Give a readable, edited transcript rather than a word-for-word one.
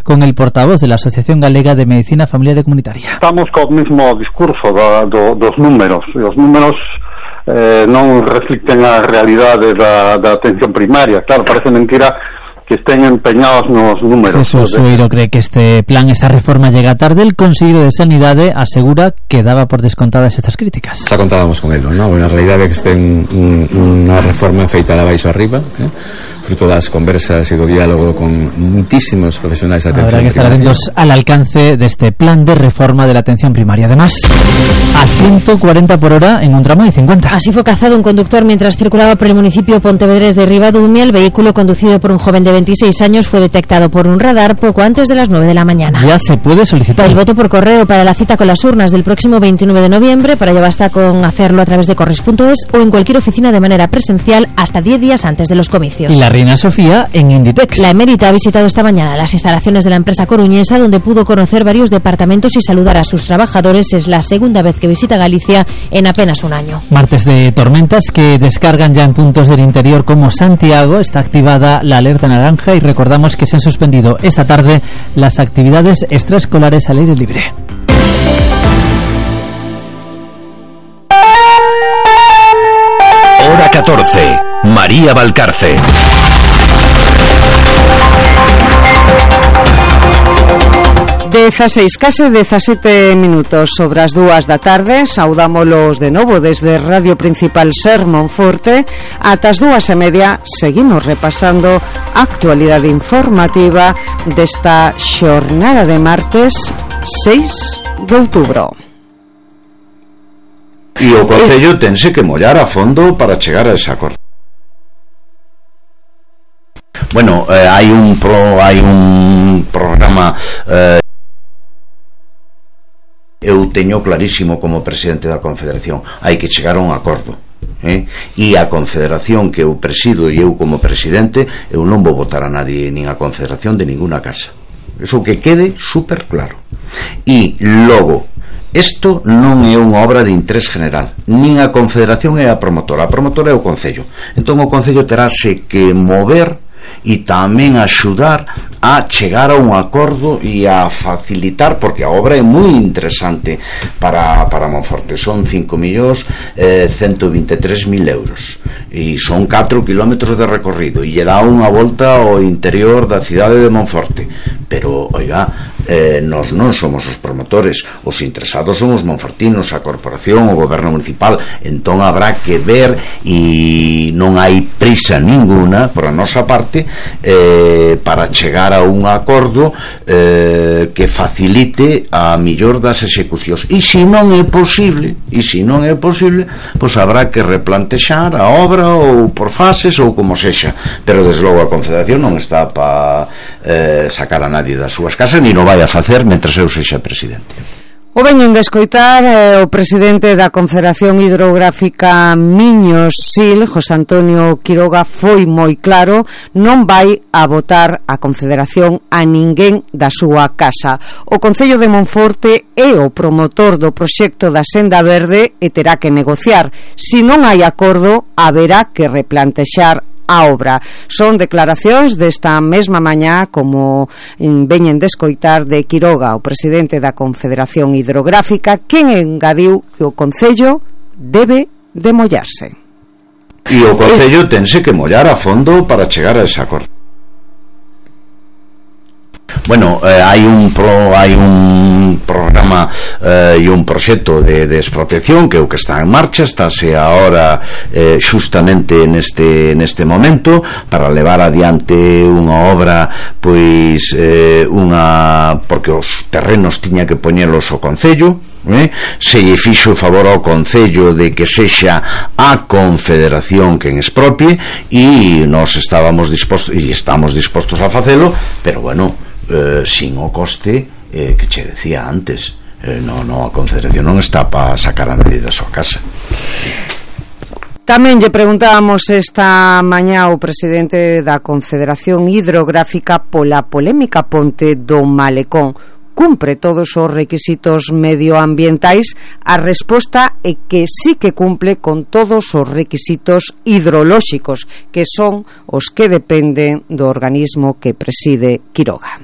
con el portavoz de la Asociación Galega de Medicina Familiar e Comunitaria. Estamos co mesmo discurso dos números. Os números non reflicten a realidade da atención primaria. Claro, parece mentira que estén empeñados nos números. Jesús Sueiro cree que esta reforma llega tarde. El Conselleiro de Sanidade asegura que daba por descontadas estas críticas. Xa contábamos con elo, non? A realidade é que ten unha reforma feita de baixo arriba, fruto das conversas e do diálogo con muitísimos profesionais de atención primaria. Habrá que estar atentos al alcance de este plan de reforma de la atención primaria. Además, a 140 por hora en un tramo de 50. Así fue cazado un conductor mientras circulaba por el municipio pontevedrés de Ribadumia. El vehículo conducido por un joven de 26 años fue detectado por un radar poco antes de las 9 de la mañana. Ya se puede solicitar el voto por correo para la cita con las urnas del próximo 29 de noviembre. Para ello basta con hacerlo a través de correis.es o en cualquier oficina de manera presencial hasta 10 días antes de los comicios. Y la reina Sofía en Inditex. La emérita ha visitado esta mañana las instalaciones de la empresa coruñesa, donde pudo conocer varios departamentos y saludar a sus trabajadores. Es la segunda vez que visita Galicia en apenas un año. Martes de tormentas que descargan ya en puntos del interior como Santiago. Está activada la alerta naranja y recordamos que se han suspendido esta tarde las actividades extraescolares al aire libre. Hora 14. María Valcarce. 16, case 17 minutos sobre as 2 da tarde. Saudámolos de novo desde Radio Principal Ser Monforte. Ata as 2:30 seguimos repasando a actualidade informativa desta xornada de martes 6 de outubro. E o Concello tense que mollar a fondo para chegar a ese acordo. Bueno, hai un programa. Eu teño clarísimo como presidente da Confederación, hai que chegar a un acordo, e a Confederación que eu presido e eu como presidente, eu non vou votar a nadie nin a Confederación de ninguna casa, eso que quede super claro. E logo, isto non é unha obra de interés general, nin a Confederación é a promotora é o Concello. Entón o Concello terase que mover e tamén axudar a chegar a un acordo e a facilitar, porque a obra é moi interesante para Monforte. Son 5.123.000 euros e son 4 kilómetros de recorrido e lle dá unha volta ao interior da cidade de Monforte. Pero, oiga, nós non somos os promotores, os interesados son os monfortinos, a corporación, o goberno municipal. Entón habrá que ver, e non hai prisa ninguna por a nosa parte para chegar a un acordo que facilite a millor das execucións. E se non é posible, pois habrá que replantexar a obra ou por fases ou como sexa. Pero desde logo a Confederación non está para sacar a nadie das súas casas, ni non vai a facer mentres eu sexa presidente. O veñen de escoitar o presidente da Confederación Hidrográfica Miño-Sil, José Antonio Quiroga, foi moi claro, non vai a votar a Confederación a ninguén da súa casa. O Concello de Monforte é o promotor do proxecto da Senda Verde e terá que negociar. Se non hai acordo, haberá que replantexar a obra. Son declaracións desta mesma mañá, como veñen de escoitar, de Quiroga, o presidente da Confederación Hidrográfica, quen engadiu que o Concello debe de mollarse. E o Concello tense que mollar a fondo para chegar a ese acordo. Bueno, hai un programa e un proxecto de expropiación que é o que está en marcha, estáse agora xustamente neste momento para levar adiante unha obra, pois porque os terrenos tiña que poñelos o Concello, se lle fixo o favor ao Concello de que sexa a Confederación quen expropie, e nós estábamos dispostos e estamos dispostos a facelo, pero bueno, sin o coste que che decía antes. A Confederación non está para sacar a nadie da súa casa. Tamén lle preguntábamos esta mañá ao presidente da Confederación Hidrográfica pola polémica ponte do Malecón. Cumpre todos os requisitos medioambientais? A resposta é que sí que cumple con todos os requisitos hidrolóxicos, que son os que dependen do organismo que preside Quiroga.